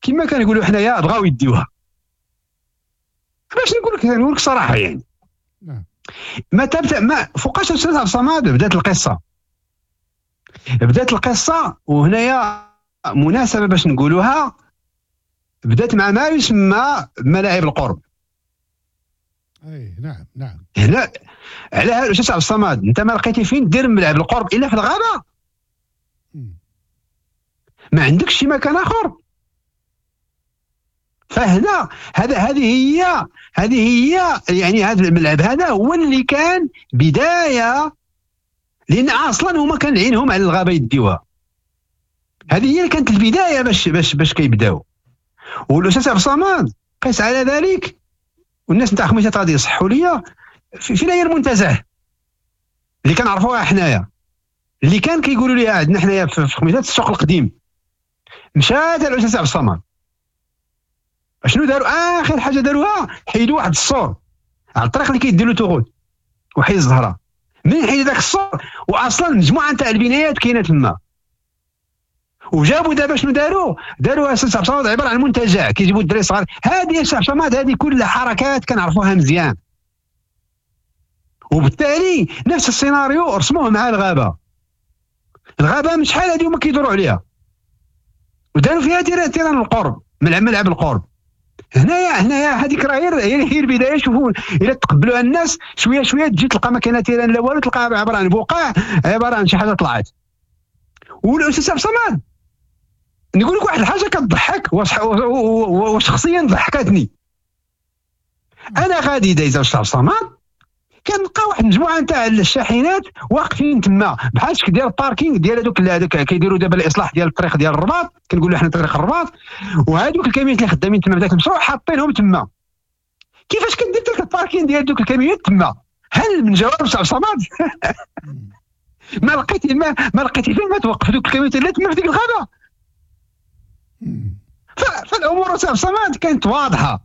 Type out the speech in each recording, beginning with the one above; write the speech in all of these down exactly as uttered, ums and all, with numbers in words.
كما كنقولوا حنايا بغاو يديوها. باش نقول لك نقول لك صراحة يعني. نعم. ما تبدا ما فوقاش الاستاذ عبد الصمد بدات القصة. بدات القصة، وهنايا مناسبة باش نقولوها، بدات مع ما يسمى ملاعب القرب. اي نعم نعم. هنا على هذا الاستاذ عبد الصمد انت ما لقيتي فين دير ملعب القرب الا في الغابة. ما عندكش شي مكان اخر. فهنا هذا هذه هي هذه هي يعني هذا الملعب هذا هو اللي كان بداية، لان اصلا هما كان عينهم على الغابة يديوها. هذه هي اللي كانت البداية باش باش باش كيبداو. والاستاذ عبد الصمد قيس على ذلك، والناس نتاع خميسات غادي يصحوا ليا فين هي المنتزه اللي كنعرفوها حنايا، اللي كان كيقولوا ليها عندنا حنايا في خميسات السوق القديم. مشات الاستاذ عبد الصمد شنو داروا؟ اخر حاجة داروها حيدوا واحد السور على الطريق اللي كيدير l'autoroute وحي الزهرة. من حيد ذاك السور واصلا مجموعة نتاع البنايات كاينه تما، وجابوا دابا شنو داروا؟ داروا استاذ عبد الصمد عبارة عن منتجع كيجيبوا الدراري الصغار. هذه استاذ عبد الصمد هذه كلها حركات كنعرفوها مزيان، وبالتالي نفس السيناريو رسموه مع الغابة. الغابة من شحال هذه هما كيدوروا عليها، وداروا فيها terrain القرب، ملعب ملعب القرب. هنايا هنايا هذيك راه هي هي البداية. شوفوا الا تقبلوها الناس شوية شوية تجي تلقى ما كاين terrain لا والو، تلقاها عبارة عن بقع، عبارة عن شي حاجة طلعت. والاستاذ عبد الصمد نقول لك واحد الحاجة كتضحك وشخصيا ضحكتني. انا غادي دايز الاستاذ عبد الصمد كنلقى واحد المجموعة نتاع الشاحنات واقفين تما بحال شكل ديال ال parking ديال هذوك هذوك كيديروا دابا الاصلاح ديال الطريق ديال الرباط، كنقولوا حنا طريق الرباط، وهذوك الكاميونات اللي خدامين تما بداك المشروع حاطينهم تما. كيفاش كدير داك ال parking ديال دوك الكاميونات تما؟ هل من جواب عبد الصمد؟ ما لقيتي ما, ما لقيتي فين ما توقف دوك الكاميونات اللي تما في ديك الغابة. فالامور عبد الصمد كانت واضحة،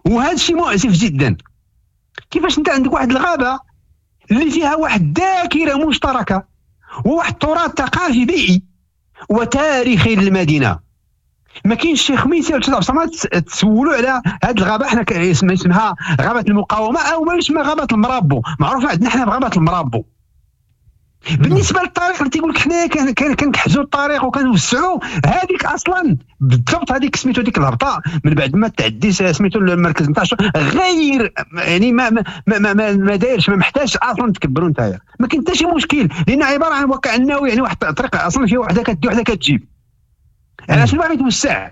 وهذا الشيء مؤسف جدا. كيفاش انت عندك واحد الغابة اللي فيها واحد الذاكرة مشتركة وواحد التراث ثقافي بيئي وتاريخي للمدينة، ما كاينش شي خميسه ولا عبد تسولوا على هذه الغابة. حنا اسمها غابه المقاومة او ما يسمى غابه المرابو، معروفة عندنا حنا بغابه المرابو. بالنسبة للطريق اللي تيقول لك حنايا كنكحزوا الطريق وكنوسعوا، هذيك اصلا بالضبط هذيك سميتو ديك الهبطه من بعد ما تعدي سميتو المركز نتاع غير يعني ما ما ما, ما, ما دايرش، ما محتاجش اصلا تكبروا نتايا، ما كاين حتى شي مشكل، لان عبارة عن وكانه يعني واحد الطريق اصلا فيها وحده كدي وحده كتجيب. علاش باغي توسع؟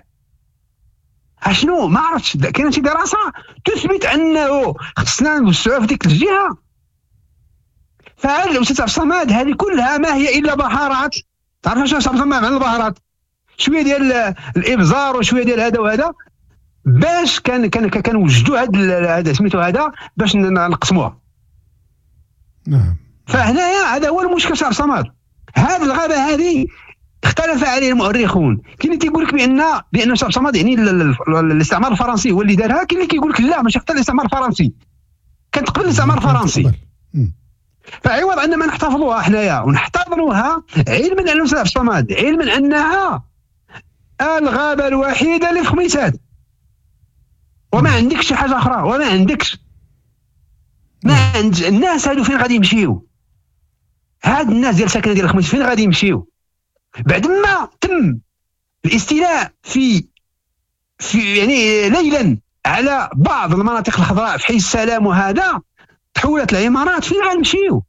اشنو ما عرفتش، كاينه شي دراسة تثبت انه خصنا نوسعوا في ديك الجهة؟ فهذا الاستاذ عبد الصمد هذه كلها ما هي الا بهارات. تعرف شنو عبد الصمد معنى البهارات؟ شوية ديال الابزار وشوية ديال هذا وهذا باش كان كان كنوجدوا هذا هذا سميتو هذا باش نقسموها. نعم. فهنايا هذا هو المشكل عبد الصمد. هذه الغابة هذه اختلف عليه المؤرخون، كاين اللي تيقول لك بان بان عبد الصمد يعني الاستعمار الفرنسي هو اللي دارها، كاين اللي كيقول لك لا ماشي حتى الاستعمار الفرنسي، كانت قبل الاستعمار الفرنسي. فعوض ان ما نحتفظوها حنايا ونحتضنوها، علما ان الاستاذ عبد الصمد علما انها الغابة الوحيدة اللي في خميسات، وما عندكش شي حاجة اخرى، وما عندكش ما عند الناس هادو فين غادي يمشيو؟ هاد الناس ديال ساكنة ديال الخميس فين غادي يمشيو؟ بعد ما تم الاستيلاء في في يعني ليلا على بعض المناطق الخضراء في حي السلام وهذا، تحولت العمارات، فين غنمشيو؟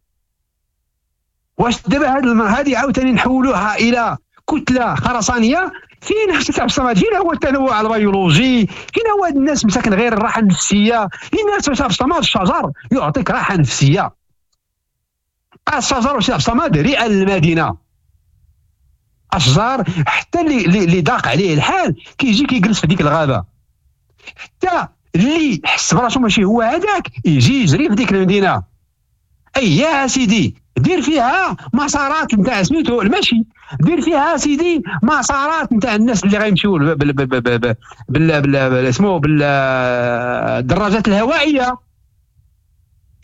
واش دابا هاد هادي عاوتاني نحولوها الى كتلة خرسانيه؟ فين خصك عبد الصمد؟ فين هو التنوع البيولوجي؟ فين هو هاد الناس مساكن غير الراحة النفسية؟ لان عبد الصمد الشجر يعطيك راحة نفسية. الشجر عبد الصمد رئه المدينة. اشجار حتى اللي اللي ضاق عليه الحال كيجي كيجلس في ديك الغابة، حتى اللي حس براسو ماشي هو هذاك يجي يجري في ديك المدينة. اي يا سيدي دير فيها مسارات نتاع سميتو المشي، دير فيها سيدي مسارات نتاع الناس اللي غيمشيو بال بال بال بال بال اسمو بالدراجات الهوائية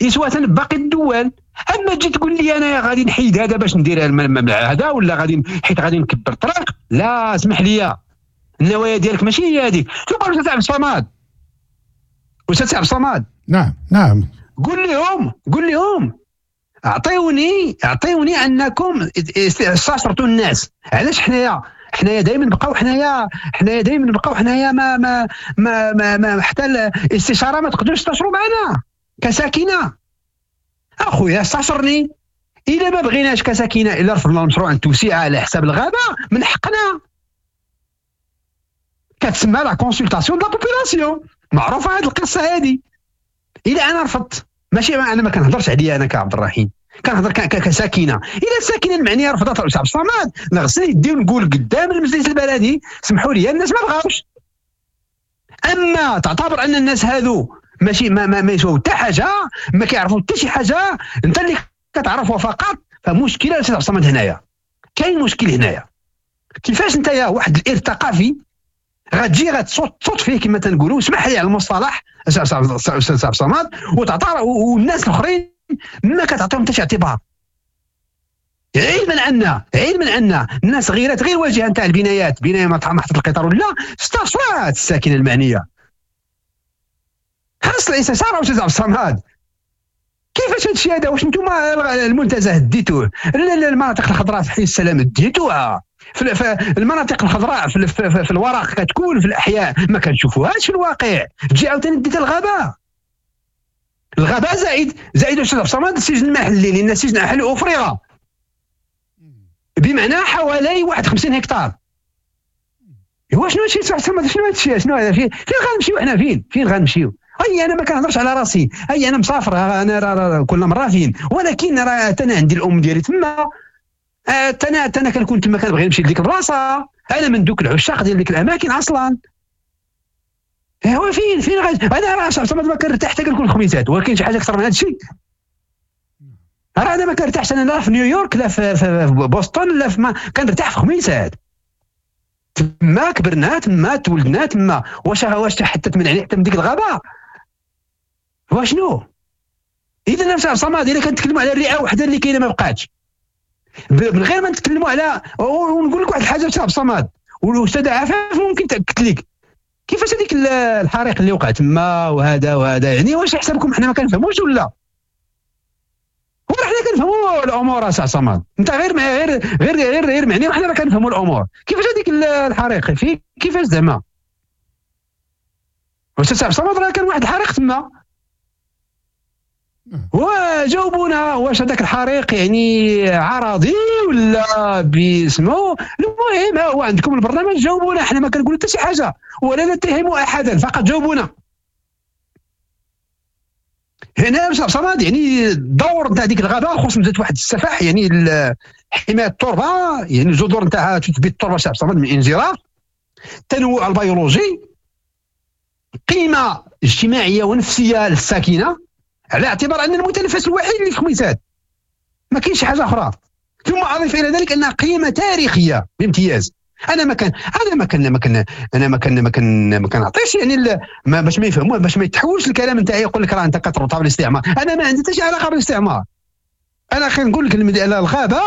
اسوة باقي الدول. اما تجي تقول لي انا غادي نحيد هذا باش ندير هذا ولا غادي حيت غادي نكبر الطريق، لا اسمح لي، النوايا ديالك ماشي هي هذيك. ثم استاذ عبد الصمد، استاذ عبد الصمد، نعم نعم، قول لهم قول لهم اعطيوني اعطيوني انكم استشرتوا الناس. علاش حنايا حنايا دائما نبقاو حنايا حنايا دائما نبقاو حنايا ما ما ما ما, ما حتى الاستشارة ما تقدروش تستشروا معنا كساكنه. اخويا استشرني، الا ما بغيناش كساكنه، الا رفضنا المشروع التوسيع على حساب الغابة من حقنا، كتسمى la consultation de la population، معروفة هذه القصة هذه. الا انا رفضت، ماشي انا ما كنهضرش عليا انا كعبد الرحيم، كنهضر كساكنه. الا الساكنة المعنية رفضت عبد الصمد، نغسل يدي ونقول قدام المجلس البلدي سمحوا لي الناس ما بغاوش. اما تعتبر ان الناس هذو ماشي ما ما, ما يسواو حتى حاجة، ما كيعرفوا حتى شي حاجة، انت اللي كتعرفوا فقط، فمشكله استاذ عبد الصمد هنايا. كاين مشكل هنايا، كيفاش انت يا واحد الارث ثقافي غتجي غتصوت فيه كما تنقولوا، اسمح لي على المصطلح استاذ عبد الصمد، وتعطى والناس الاخرين ما كتعطيهم حتى شي اعتبار. علما ان علما ان الناس غيرت غير الواجهة نتاع البنايات، بناية محطة القطار ولا استشرات الساكنة المعنية. خاص الاستشارة استاذ عبد الصمد. كيفاش هذا الشيء هذا؟ واش انتم المنتزه ديتوه، المناطق الخضراء في حي السلام ديتوها، في المناطق الخضراء في, في, في الورق كتكون في الاحياء ما كنشوفوهاش في الواقع. تجي عاوتاني ديت الغابة، الغابة زائد زائد استاذ عبد الصمد السجن المحلي، لان السجن المحلي افرغ بمعنى حوالي واحد وخمسين هكتار. هو شنو هادشي استاذ عبد الصمد؟ شنو هادشي؟ شنو هذا؟ فين فين غنمشيو حنا؟ فين فين غنمشيو؟ اي انا ما كنهضرش على راسي، اي انا مسافر، انا راه كل مرة فين، ولكن راه انا عندي الام ديالي تما، انا انا كنكون تما كنبغي نمشي لديك البلاصة، انا من دوك العشاق ديال ديك الاماكن اصلا. هو فين فين غادي؟ انا راه صافي ما كنرتاح حتى كنكون الخميسات، ولكن شي حاجة اكثر من هذا الشيء راه انا ما كنرتاحش. انا لا في نيويورك لا في, في بوسطن لا في، ما كنرتاح في خميسات. تما كبرنا، تما تولدنا، تما واش واش حتى تمنعني حتى من ديك الغابة؟ واشنو؟ اذا نفس الصمد الا كنتكلموا على الرئة وحده اللي كاينه ما بقاتش، من غير ما نتكلموا على، ونقول لك واحد الحاجة استاذ عبد الصمد والاستاذه عفاف ممكن تاكد لك كيفاش هذيك الحريق اللي وقع تما وهذا وهذا، يعني واش حسابكم حنا ما كنفهموش ولا؟ هو حنا كنفهموا الامور استاذ صمد، انت غير غير غير غير غير معني وحنا ما كنفهموا الامور. كيفاش هذيك الحريق في كيفاش زعما؟ استاذ عبد الصمد راه كان واحد الحريق تما، وجاوبونا واش هذاك الحريق يعني عرضي ولا باسمو. المهم ها هو عندكم البرنامج، جاوبونا، حنا ما كنقولوا حتى شي حاجة ولا نتهم احدا، فقط جاوبونا. هنا باش صمد يعني الدور نتاع ديك الغابة خصوصا زاد واحد السفح، يعني حماية التربة، يعني الجذور نتاعها تثبت التربة شعب صمد من الانجراف، التنوع البيولوجي، قيمة اجتماعية ونفسية للساكنه، على اعتبار ان المتنفس الوحيد اللي في خميسات ما كاينش حاجة اخرى. ثم اضيف الى ذلك انها قيمة تاريخية بامتياز. انا ما كان انا ما كان ما كان انا ما كان ما كان ما كنعطيش يعني ما باش ما يفهموا، باش ما يتحولش الكلام نتاعي يقول لك راه انت كتربطها بالاستعمار. انا ما عندي حتى شي علاقة بالاستعمار. انا خلينا نقول لك الغابة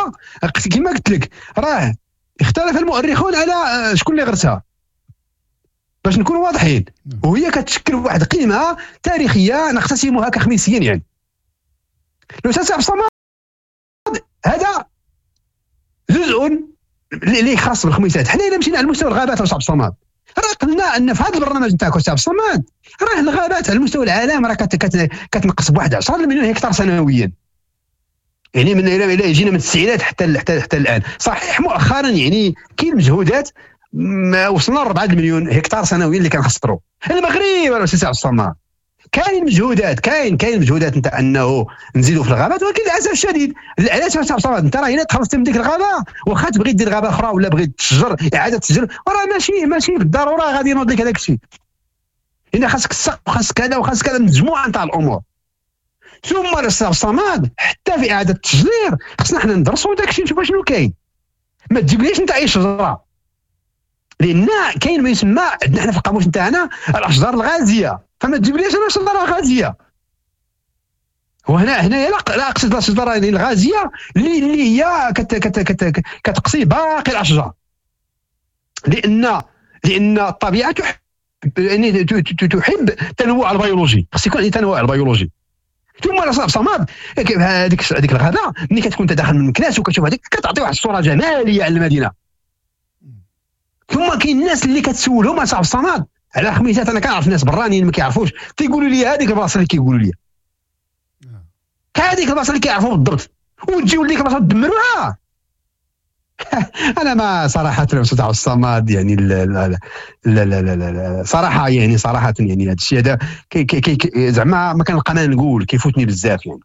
كما قلت لك راه اختلف المؤرخون على شكون اللي غرسها، باش نكونوا واضحين، وهي كتشكل واحد القيمة تاريخية نقتسمها كخميسيين. يعني الاستاذ عبد الصمد هذا جزء اللي خاص بالخميسات. حنا الا مشينا على مستوى الغابات استاذ عبد الصمد راه قلنا ان في هذا البرنامج نتاعك استاذ عبد الصمد راه الغابات على مستوى العالم راه كتنقص بواحد عشرة مليون هكتار سنويا، يعني من الى جينا من التسعينات حتى حتى حتى الان. صحيح مؤخرا يعني كاين مجهودات، وصلنا ل أربعة مليون هكتار سنويا اللي كنخسروا. المغرب الاستاذ عبد الصمد كاين مجهودات، كاين كاين مجهودات نتاع انه نزيدوا في الغابات، ولكن للاسف الشديد علاش عبد الصمد انت راه الا تخلصت من ديك الغابة واخا تبغي دير غابه اخرى ولا بغيت تشجر اعاده تشجر راه ماشي ماشي بالضرورة غادي ينوض لك هذاك الشيء. هنا خاصك السقف وخاصك كذا وخاصك كذا، مجموعة نتاع الامور. ثم الاستاذ عبد الصمد حتى في اعاده التشجير خصنا حنا ندرسوا داك الشيء نشوفوا شنو كاين. ما تجيبليش انت اي شجرة، لان كاين ما يسمى عندنا حنا في القاموس نتاعنا الاشجار الغازية، فما تجيبليش انا شجرة غازية. وهنا هنايا لا لا اقصد الشجرة الغازية اللي اللي هي كت كت كت كتقصي باقي الاشجار، لان لان الطبيعة تحب يعني تحب التنوع البيولوجي، خص يكون عندي تنوع البيولوجي. ثم راه صمد هذيك هذيك الغابة ملي كتكون انت داخل من مكناس وكتشوف هذيك كتعطي واحد الصورة جمالية على المدينة. ثم كاين الناس اللي كتسولهم اصاحب الصمد على خميسات، انا كنعرف ناس برانيين ما كيعرفوش، تيقولوا لي هذيك البلاصة اللي كيقولوا لي هذيك البلاصة اللي كيعرفوا بالضبط، وتجيو لديك البلاصة تدمروها. انا ما صراحة الاستاذ عبد الصمد يعني لا لا لا لا لا لا صراحة يعني صراحة يعني هذا الشيء هذا كي كي كي زعما ما كنلقى ما نقول، كيفوتني بزاف يعني.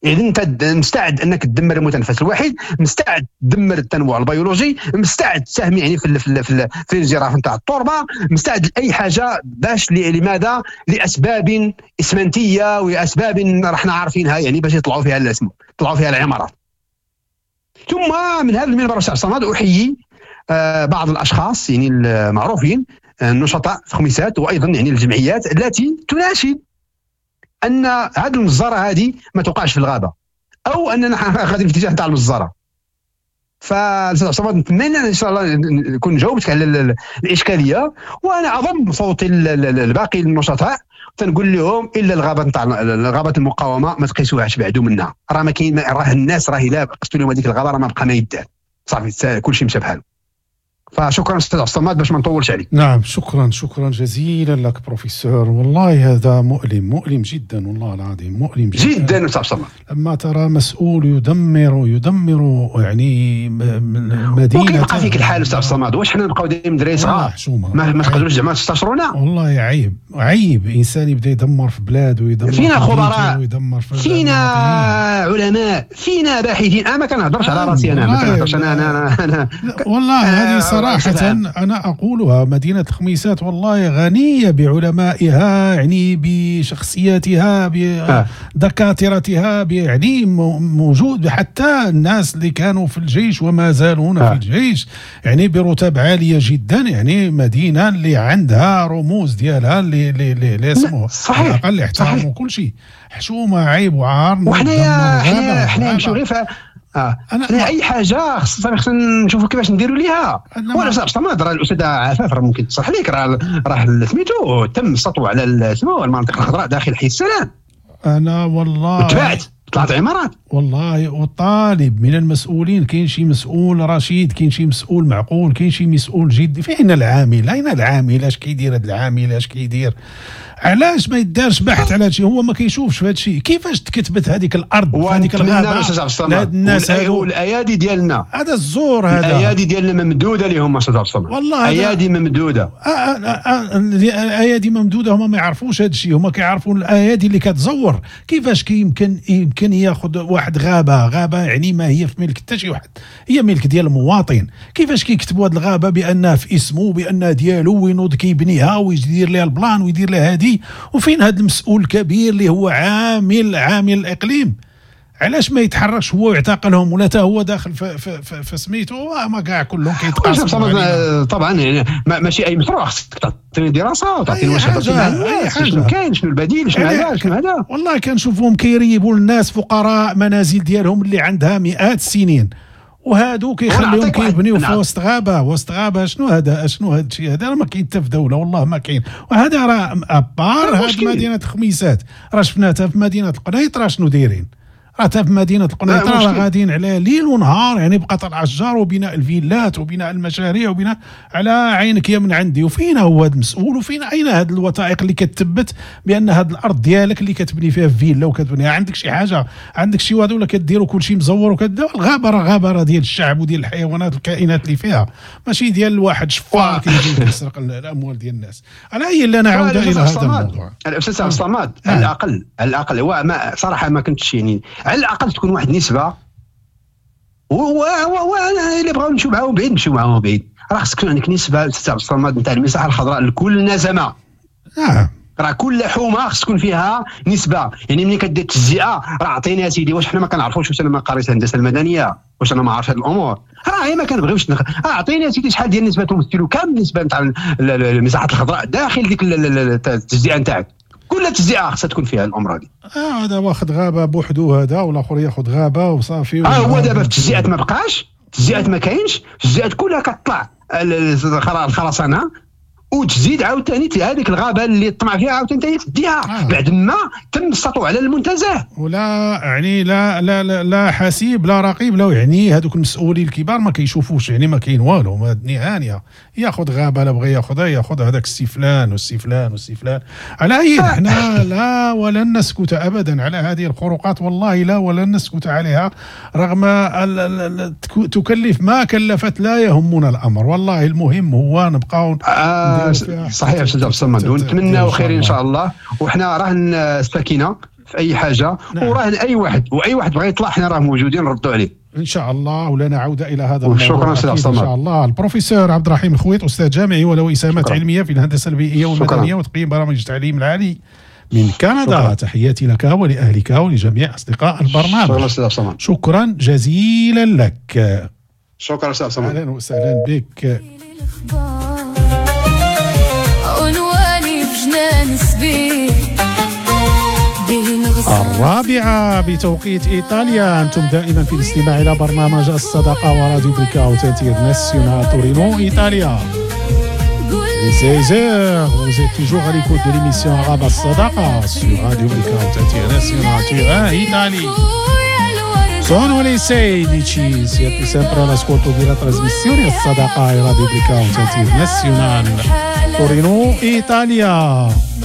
اذا انت مستعد انك تدمر المتنفس الوحيد، مستعد تدمر التنوع البيولوجي، مستعد تساهم يعني في في في, في الانجراف نتاع التربة، مستعد لاي حاجة باش لماذا؟ لاسباب اسمنتيه ولاسباب رحنا عارفينها يعني باش يطلعوا فيها الاسم، يطلعوا فيها العمارات. ثم من هذا المنبر أستاذ صمد احيي بعض الاشخاص يعني المعروفين النشطاء في خميسات وايضا يعني الجمعيات التي تناشد ان هذه المجزرة هذه ما توقعش في الغابة، او اننا غادي في اتجاه تاع المجزرة. فالاستاذ صمد نتمنى ان شاء الله نكون جاوبتك على الاشكالية، وانا اضم صوتي لباقي النشطاء تنقول لهم الا الغابة نتاع غابه المقاومة ما تقيسوهاش بعدو منها، راه ما كاين، راه الناس راه الا قستوا لهم هذيك الغابة راه ما بقى ما يدار، صافي كلشي مشى بحاله. فشكرا استاذ عبد الصمد باش ما نطولش عليك. نعم شكرا، شكرا جزيلا لك بروفيسور، والله هذا مؤلم، مؤلم جدا والله العظيم، مؤلم جدا جدا استاذ عبد الصمد. لما ترى مسؤول يدمر يدمر يعني مدينة، وكيبقى فيك الحال استاذ عبد الصمد، واش حنا نبقاو دايما دراري صغار ما, ما تقدروش زعما تستشرونا؟ والله عيب، عيب انسان يبدا يدمر في بلاد ويدمر فينا خبراء، ويدمر في فينا علماء، فينا باحثين. انا ما كنهضرش على راسي، انا ما كنهضرش انا انا انا والله هذه صراحة أنا أقولها، مدينة الخميسات والله غنية بعلمائها، يعني بشخصياتها، بدكاترتها، يعني موجود حتى الناس اللي كانوا في الجيش وما زالون في الجيش يعني برتب عالية جدا، يعني مدينة اللي عندها رموز ديالها اللي اللي اللي اسمه على الأقل يحترموا كل شيء. حشومة، عيب وعار. وحنايا حنا حنا نمشيو غير اه انا اي حاجة خصنا خصنا نشوفوا كيفاش نديروا ليها. وانا صاحب الصمد راه الاستاذة عفاف راه ممكن تصلح لك، راه راه سميتو تم السطو على سمو المنطقة الخضراء داخل حي السلام. انا والله تبعت طلعت عمارات والله. اطالب من المسؤولين، كاين شي مسؤول رشيد، كاين شي مسؤول معقول، كاين شي مسؤول جدي. فين العامل؟ اين العامل؟ اش كيدير هذا العامل؟ اش كيدير؟ علاش ما يدارش بحث على هادشي؟ هو ما كيشوفش في هادشي. كيفاش تكتبت هذيك الارض في هذيك الغابة؟ هاد الناس هادو الايادي ديالنا، هذا الزور، هذا الايادي ديالنا ممدوده لهم استاذ عبد الصمد، والله ايادي ممدوده، الايادي ممدوده. هما ما يعرفوش هادشي، هما كيعرفوا الايادي اللي كتزور. كيفاش كيمكن يمكن ياخذ واحد غابه، غابه يعني ما هي في ملك حتى شي واحد، هي ملك ديال المواطن. كيفاش كيكتبوا هاد الغابة بانها في اسمه، بانها ديالو، وينوض كيبنيها ويدير لها ال plan ويدير لها هادي؟ وفين هذا المسؤول الكبير اللي هو عامل عامل الاقليم؟ علاش ما يتحركش هو ويعتقلهم؟ ولا تا هو داخل في في في, في سميتو؟ ما كاع كلهم كيتقاسموا طبعا. يعني ماشي اي مشروع خصك تعطيني دراسة وتعطيني واش شنو كاين، شنو البديل، شنو هذا شنو هذا. والله كنشوفهم كيريبوا الناس فقراء منازل ديالهم اللي عندها مئات السنين، وهادو كيخليهم كيبنيو في وسط غابه، وسط غابه. شنو هذا؟ شنو هذا الشيء هذا؟ راه ما كاين حتى في دولة، والله ما كاين. وهذا راه à part هاد مدينة الخميسات راه شفناها في مدينة القنيطره شنو دايرين، راه حتى في مدينة القنيطره راه غاديين على ليل ونهار، يعني بقطع الاشجار وبناء الفيلات وبناء المشاريع وبناء على عينك يا من عندي. وفين هو هذا المسؤول؟ وفين اين هذه الوثائق اللي كتثبت بان هذه الارض ديالك اللي كتبني فيها فيلا وكتبنيها؟ عندك شي حاجة؟ عندك شي واد ولا كديروا كلشي مزور وكذا؟ الغابة راه غابه، راه ديال الشعب وديال الحيوانات الكائنات اللي فيها، ماشي ديال واحد شفار كيجي يسرق الاموال ديال الناس. على اي لا نعود الى هذا الموضوع. الاستاذ عبد الصمد، على الاقل على الاقل هو ما صراحة ما كنتش يعني على الاقل تكون واحد النسبة، وانا الا بغاو نمشيو معاهم بعيد نمشيو معاهم بعيد. راه خصك تكون عندك نسبه استاذ عبد الصمد نتاع المساحة الخضراء لكل نسمه. نعم، راه كل حومه خص تكون فيها نسبه. يعني ملي كدير التجزئة راه عطيني يا سيدي، واش حنا ما كنعرفوش؟ واش انا ما قريت الهندسة المدنية؟ واش انا ما عارفش هاد الامور؟ راه هي ما كنبغيوش نخ... اعطيني يا سيدي شحال ديال النسبة تمثلوا، كم النسبة نتاع المساحات الخضراء داخل ديك التجزئة نتاعك. كل تجزئه خصها تكون فيها الامر هذه. اه هذا واخد غابه بوحدو، هذا والاخر ياخذ غابه وصافي. اه هو دابا في التجزئات ما بقاش، التجزئات ما كاينش، التجزئات كلها كتطلع الخرسانه وتزيد عاوتاني هذيك الغابة اللي طمع فيها عاوتاني تديها آه. بعد ما تم السطو على المنتزه. ولا يعني لا لا لا, لا حسيب لا رقيب لا، يعني هذوك المسؤولين الكبار ما كيشوفوش، يعني ما كاين والو، هانيه ياخذ غابه لا بغى ياخذها ياخذ هذاك السي فلان والسي فلان والسي فلان. على اي احنا لا ولن نسكت ابدا على هذه الخروقات، والله لا ولن نسكت عليها رغم تكلف ما كلفت، لا يهمنا الامر والله. المهم هو نبقاو آه صحيح استاذ عبد الصمد، ونتمناو خير ان شاء الله. وحنا راهن السكينة في اي حاجة، نعم. وراهن اي واحد، واي واحد بغى يطلع حنا راه موجودين نردوا عليه ان شاء الله، ولنا عوده الى هذا الموضوع. شكرا استاذ عبد الصمد. ان شاء الله. البروفيسور عبد الرحيم الخويط، استاذ جامعي وله اسهامات علمية في الهندسة البيئية والمدنية وتقييم برامج التعليم العالي من كندا. شكرا. تحياتي لك ولاهلك ولجميع اصدقاء البرنامج. شكرا استاذ عبد الصمد، شكرا جزيلا لك. شكرا استاذ عبد الصمد، اهلا وسهلا بك. الرابعة بتوقيت إيطاليا. أنتم دائما في الاستماع إلى برنامج الصداقة وراديو Blackout International تورينو إيطاليا. Les seize heures, vous êtes toujours à l'écoute de l'émission Arabe As-Sadaqa sur Radio Blackout International Turin, Italie. Sono le sedici, siete sempre all'ascolto della trasmissione As-Sadaqa e Radio Blackout International Torino, Italia.